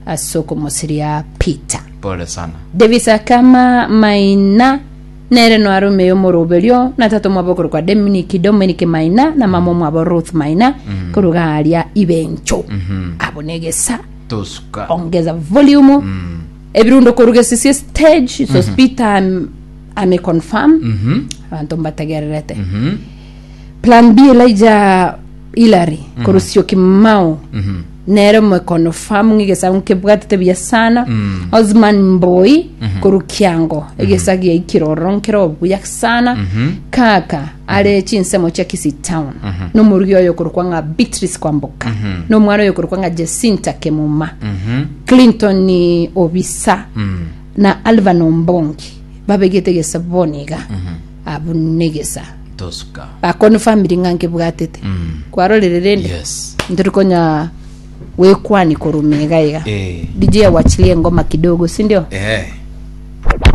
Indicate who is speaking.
Speaker 1: Ase okomosiria Peter.
Speaker 2: Pole sana.
Speaker 1: Davis Akama Maina nere noare omeya omoroberio na tata omwabo okorokwa Dominic Dominic Maina na mama omwabo Ruth Maina koruga aria Ibencho. Abo negesa
Speaker 2: Tosuka.
Speaker 1: ongeza volume ebirundo koruga esisi stage so Peter am, ame confirm abanto mbategererete Plan B Elijah Hillary korwa Syokimau nere omoekonofamu ng'a egesaku nkebwatete buya sana Osman Mboi korwa Kiango egesa giaikire ororo nkere obuya sana kaka are chinsemo chia Kisii town nomorugi oyo okorokwa ng'a Beatrice Kwamboka nomwana oyo okorokwa ng'a Jacinta Kemuma Clinton Obisa na Alvan Ombongi babegete egesa bono iga abwo negesa
Speaker 2: Tosuka.
Speaker 1: Bakoni family ng'a nkebwatete. Kwarorire rende?
Speaker 2: Yes.
Speaker 1: Ntori konya gwekwani korwa mega iga.
Speaker 2: Eh.
Speaker 1: DJ awachilie engoma kidogo, si ndio?
Speaker 2: Eh.